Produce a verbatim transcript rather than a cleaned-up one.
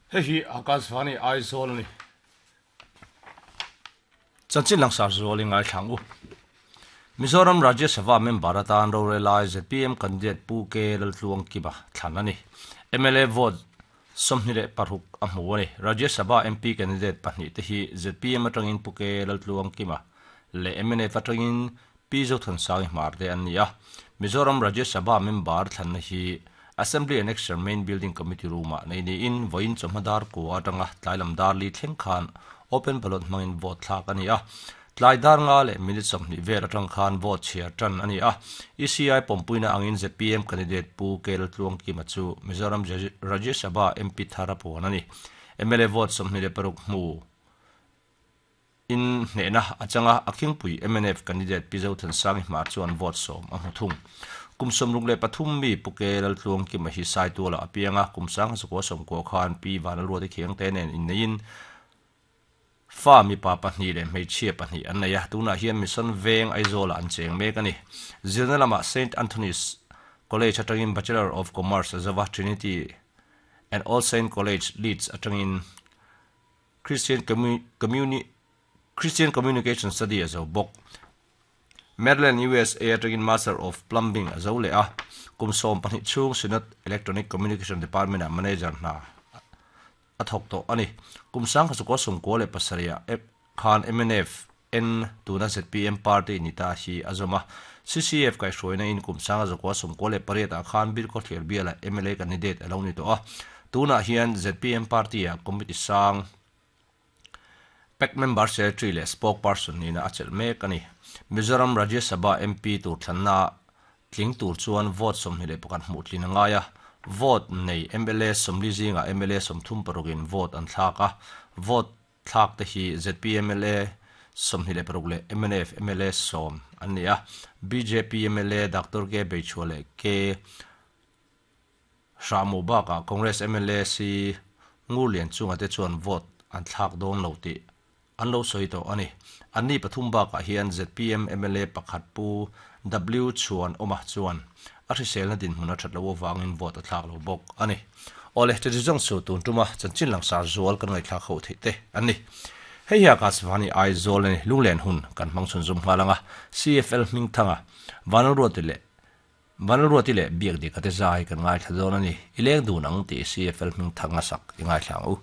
Hei hi Akashvani Aizawl a ni. Chanchin langsar zual i ngaithlang u. Mizoram Rajya Sabha member atan rorelai Z P M candidate Pu K Laltluang Kima thlan a ni. M L A vote sawmhnih leh paruk a hmu a ni. Rajya Sabha M P candidate pahnih te hi Z P M atangin Pu K Laltluang Kima leh M N F atangin Pi Zothansangi Hmar te an ni a. Mizoram Rajya Sabha member thlanna hi Assembly Annexure Main Building Committee Room-ah nei niin vawiin chawhma dar kua atanga tlailam dar li thleng khan open ballot hmangin vote thlak a ni a. Tlai dar nga leh minute sawmhnih vel atang khan vote chhiar tan a ni a. E C I pawmpuina angin Z P M candidate Pu K Laltluang Kima chu Mizoram Rajya Sabha M P thar a puan a ni. M L A vote sawmhnih leh paruk hmu in hnehna atanga a khingpui M N F candidate Pi Zothansangi Hmar chuan vote sawm a hmu thung. Kum sawmruk leh pathum mi Pu K Laltluang Kima hi Saituala a piang a, kum sang zakua sawmkua khan Pi Vanlalruati Khiangte nen inneiin fa mipa pahnih leh hmeichhia pahnih an nei a. Tunah hian Mission Veng Aizawlah an cheng mek a ni. Zirna lamah Saint Anthony's College atangin Bachelor of Commerce a zo a, Trinity and All Saint College Leeds atangin Christian Communi Christian Communication Study a zo bawk. Maryland U S A atangin Master of Plumbing a zo leh a. Kum sawm pahnih chhung Synod Electronic Communication Department ah manager hna a thawk tawh a ni. Kum sang kha sawmkua leh pasarih khan M N F N tuna Z P M party ni ta hi a zawm a. C C F kaihhruaina in kum sanga zakua sawmkua leh pariat ah khan Bilkhawthlir biala M L A candidate a lo ni tawh a. Tunah hian Z P M party ah committee sang P A C member secretary leh spokesperson nina a chelh mek a ni. Mizoram Rajya Sabha M P tur thlanna tling tur chuan vote sawmhnih leh pakhat hmuh tlin a ngai a. Vote nei M L A sawmli zingah M L A sawmthum parukin vote an thlak a. Vote thlak te hi Z P M M L A sawmhnih leh paruk leh M N F M L A sawm an ni a. B J P M L A Doctor K Beichhua leh K Hramu bakah Congress M L A C Ngurlian chunga te chuan vote an thlak dawn lo tih an lo sawi tawh a ni. Anni pathum bakah hian Z P M M L A pakhat Pu W Chhuan Awma chuan a hriselna dinhmun a that lo avangin vote a thlak lo bawk a ni. Awle, chu zawng chu tun tuma chanchin langsar zual kan ngaihthlak ho theih te an ni. Hei hi Akashvani Aizawl a ni. Lunglen hun kan hmang chhun zum nghal anga. C F L hming thanga Vanlalruati leh Vanlalruati leh Biak Dika te zai kan ngaithla dawn a ni. I leng dun ang tih C F L hming thanga sak i ngaithla ang u.